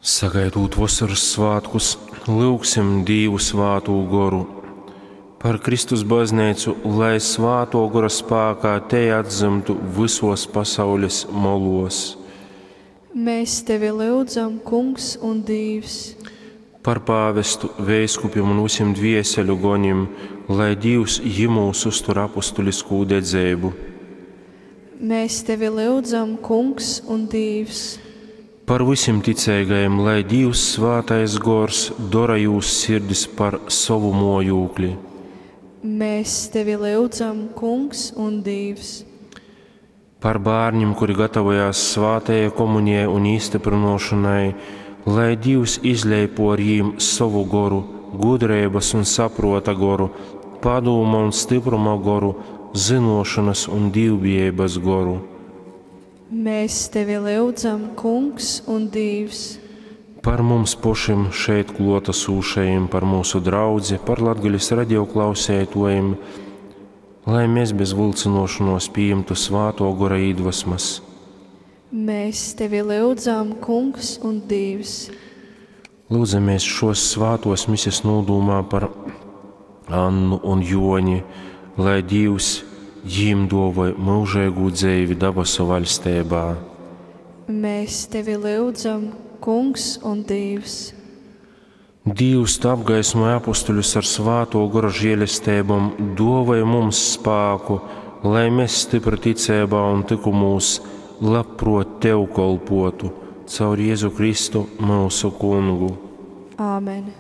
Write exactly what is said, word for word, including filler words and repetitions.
Sagaidūt vosorys svātkus, lyugsim Dīvu Svātū Goru par Kristus bazneicu, lai Svātuo Gora spākā tei atdzymtu vysuos pasaulis moluos. Mēs tevi lyudzam, Kungs un Dīvs. Par pāvestu, veiskupim un vysim dvieseļu gonim, lai Dīvs jimūs uztur apustuliskū dedzeibu. Mēs tevi lyudzam, Kungs un Dīvs. Par vysim ticeigajim, lai Dīvs Svātais Gors dora jūs sirdis par sovu muojūkli. Mēs tevi lyudzam, Kungs un Dīvs. Par bārnim, kuri gatavojās Svātajai komunijai un īstyprynuošonai, lai Dīvs izlej puor jim sovu goru, gudreibys un sapruota goru, padūma un stypruma goru, zynuošonys un dīvbijeibys goru. Mēs tevi lyudzam, Kungs un Dīvs. Par mums pošim šeit kluotasūšajim, par myusu draudzi, par Latgales radio klauseituojim, lai mēs bez vylcynuošonuos pījimtu Svātuo Gora īdvasmys. Mēs tevi lyudzam, Kungs un Dīvs. Lūdzamies šos svātos mises nūdūmā par Annu un Joni, lai Dīvs jīm duovoj myužeigū dzeivi dabasu vaļsteibā. Mēs tevi lyudzam, Kungs un Dīvs. Dīvs, tu apgaismoji apustuļus ar Svātuo Gora žielesteibom, duovoj mums spāku, lai mes stipri ticeibā un tykumūs labpruot Tev kolpuotu. Caur Jezu Kristu, myusu Kungu. Āmen.